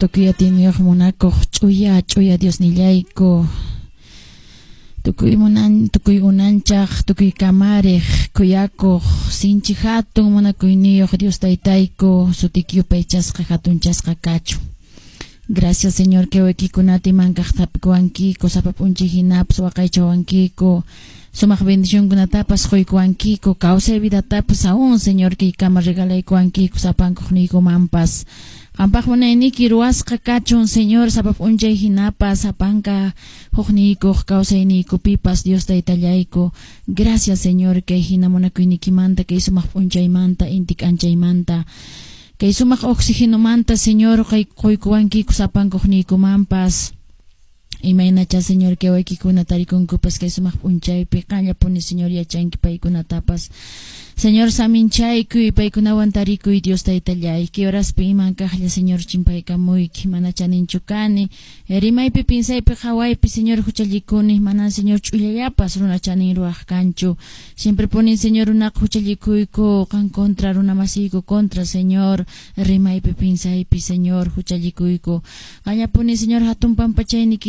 Tukuy atiyniyuq munakuq ch'uya ch'uya Diosnillayku, tukuy munan tukuy unanchaq, tukuy kamariq, khuyakuq, sinchi hatun munakuyniyuq Dios Taytayku, sutiyki yupaychasqa hatunchasqa kachun. Gracias, Señor, que wawaykikunata iman kaqta hap'ikuwankiku, sapa p'unchay hinapas waqaychawankiku, sumaq bendicionkunatapas quykuwankiku, kawsay vidatapas aún, Señor, kaykama regalaykuwankiku sapankuqniykumanpas. Qampaq munayniyki ruwasqa kachun, Señor, sapa p'unchay hinapas sapanka hukniykuq kawsayniykupipas, Dios Taytallayku. Gracias, Señor, kay hina munakuyniykimanta, kay sumaq p'unchaymanta, inti k'anchaymanta, kay sumaq oxigenomanta, Señor, quykuwankiku sapankuqniykumanpas. Imaynacha, Señor, kay wawaykikuna tarikunkupas kay sumaq p'unchaypi, qanllapuni, Señor, yachanki paykunatapas. Señor, saminchaykuy, paykunawan tarikuy, Dios Taytallay. Kay horaspi iman kaqlla, Señor, chimpaykamuyki, mana chaninchu kani. Rimaypi, pinsaypi, qhawaypi, Señor, huchallikuni, manan, Señor, ch'ullallapas runa chanin ruwaq kanchu. Siempre punin, Señor, runaqa huchallikuyku, qan contra, runa masiyku contra, Señor, rimaypi, pinsaypi, Señor, huchallikuyku. Qanllapuni, Señor, hatun pampachayniki.